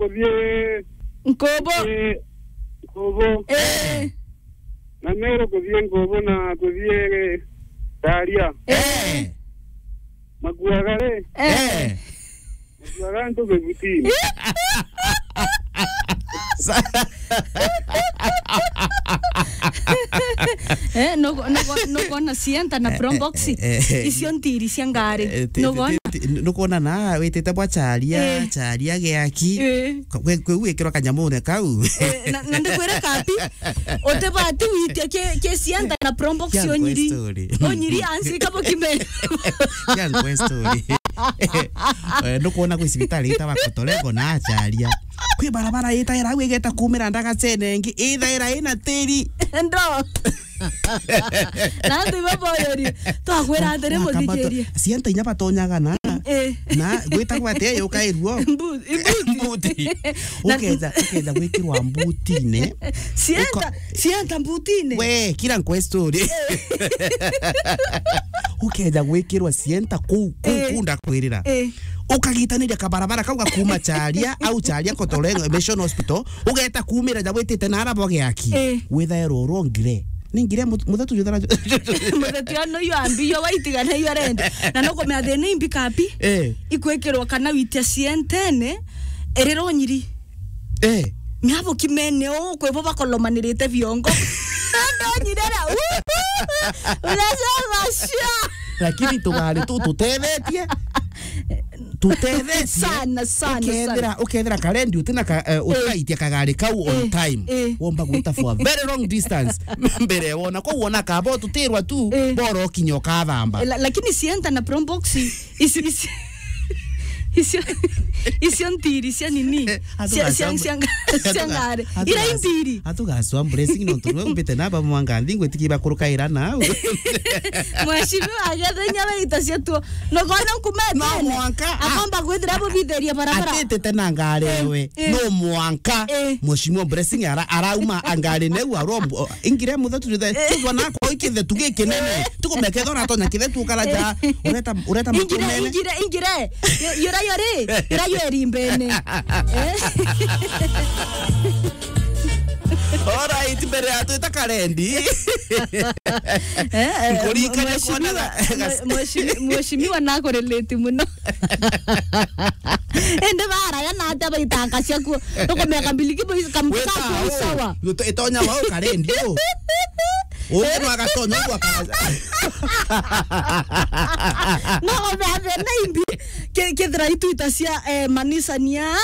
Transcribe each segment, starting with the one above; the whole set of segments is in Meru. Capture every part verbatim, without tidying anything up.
kuthii Nkubu. Kuthii Nkubu. Eh. Na Meru kuthii Nkubu na kuthii Taria. Eh. Makuaga ri? Eh. Eh. Makuaga antu mibutini. Sa- Eh, nugo-, nugo-, nugona Sienta na Probox. Eh, eh, eh. Icio ntiri cia ngari. Eh, ti-, ti-, nugona? Ti-, ti-, nugona na witite bwa Charia, eh, Charia giaki. Eh. Kwe-, kwe-, gwikirwa kanyamune kau. Eh, na, na ndikwire kapi, utibati witia ki, ki Sienta na Probox. Kia onyiri. Story. Onyiri ansi kabo kime. Kia story. Eh, ndukwona kwi cibitari itawa Kotolengo na Acharia. Kwi barabara itaira au igeta kumira ndagacene ingi, ithaira ina tiri. Ndo. Na antu ibo boyori, twakwira atiri, muthikirie. Sienta inya batonyaga na, eh, na gwitagwa atia yukairwo? Mbu-, imbuti. Mbuti. Na uketha, uketha gwikirwa mbutine. Sienta, uka- Sienta mbutine. We, kira nkwe story. Eh. Uketha gwikirwa Sienta kuu, kuu, eh, kuu ndakwirira. Eh. Ukagitaniria kabarabara kau gakuma Charia, au Charia Kotolengo Mission Hospital, ugeta kumira ja witite na ara bwa giaki. Eh. Withairwo urongire. Ni ngire mu-, muthetu juthara. Muthetu ano yo ambi yo waitigana yo rende. Na nukumenya thina imbi kapi? Eh. Ikwikirwa kana witia Sientene, iriro nyiri. Eh. Miabo kimene o, kwe bo bakolomanirite biongo. Ndo nyirera. Unasema sure. Lakini tugari tu tutethetie. Tutethetie. Sana, sana, ukethira, sana. Ukethira karendi utina ka, eh, eh, utiraitia kagari kau on, eh, time. Eh. Womba gwita for a very long distance. Mbere wona, kwa wona kabo tutirwa tu, eh, boro kinya ukathamba. Eh, la-, lakini Sienta na Probox. Ici, ici, icio, icio ntiri cia nini? Eh, cia, cia, cia nga-, cia ngari. Ira intiri. Atugaswa blessing no tuwe umbite na ba mwanga nthi ngwitikiba kurukaira na. Mheshimiwa agethenya baita cia tuo. No kona nkumete. No mwanka. Akomba gwithira bubithiria barabara. Atitete na ngari, eh, we. Eh. No mwanka. Eh. Mheshimiwa Blessing ara-, arauma angari neu arombo. Ingire muthetu juthe. Eh. Tugwa na kwa ikithetu gikinene. Eh. Tukumeke thora tonya kithetu ukara ja. Eh. Ureta, ureta ingire, mutumene. Ingire, ingire. Yo-, yura yori. Yura yori mbene. Eh. Alright, mbere ya twita karendi. Eh, eh, nkurikania mheshimiwa, kuona ga-, mhe-, mheshimi-, mheshimiwa nakurelate muno. Indi baraya na atia baitanga ciaku? Tukumeka mbiliki boys kamtu. Weta kaku au, isawa. Ito-, itonya wau karendi u. Uyu no agatonya u akara-. No, obe, abe, na imbi. Ke-, kethira itu ita cia, eh, manisania,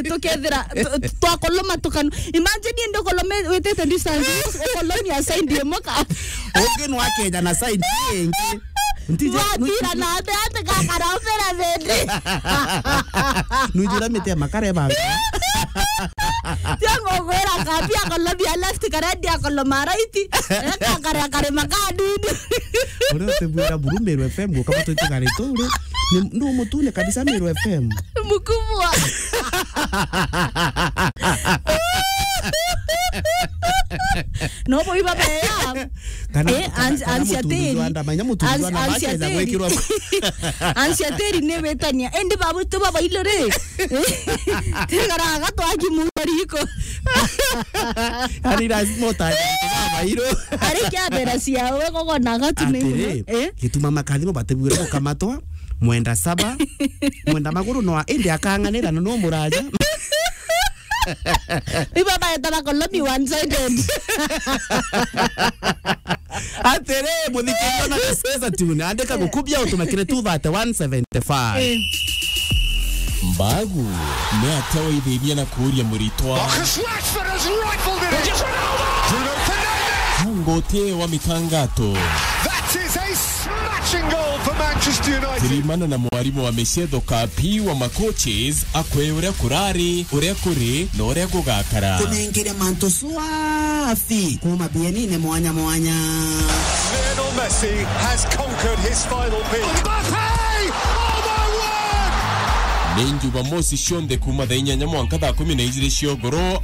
tukethira, tu-, tu-, twakoloma tukanu-, imagine indi ukolome witite distance, ukolomia side imoka. Ungi no akeja na side ingi. Ntije, watira na ate, ate kakara opera bedi. Nujira miti ya makare banga. Tiango gwira kapi akolomia left, karendi akoloma right. Eka kare, kare makadini. Ore utibwira buru Meru F M, ukaba twitugare turi. Ni, ni umutune kabisa Meru F M. Mkubwa. No, boy, baba, ya. Kana, eh, kana, ansi-, kana ansi mutundu atiri. Jwa ndama, inya mutundu jwa ndama, ansi akeza atiri. Gwikirwa. Ansi atiri ni witania. Indi babu tu baba ilo ri. Tigaraga twaki muno riko. Yaani lazima utaje antu baba iro. Ari kia mbere ciao, we gogo na gatu ni atiri, muno. Eh? Gituma makathimo batibwire gukamatwa, mwenda saba, mwenda maguru no a-, indi akang'anira na no muraja. Ibo baetana kolomi one sided. Atiri, muthikiria na kusikiza tune, andika gukubia utumikire two thirty one seventy five. Eh. Mbagu, ni atia waithithia na kuuria muritwa? Marcus Rashford has rifled it in. Bruno Fernandes. Nguti wa mitangato. That is a smashing goal for Manchester United. Turimana na mwarimu wa micetho kapi wa macoaches, akwe uria kurari, uria kuri, na uria gugakara. Kunengere mantu swafi kuma bienine mwanya mwanya. Lionel Messi has conquered his final peak. Mbappe! Oh my word! Ni Jumamosi cionthe kuma thaa inyanya mwanka thaa kumi na ijiri cia ugoro,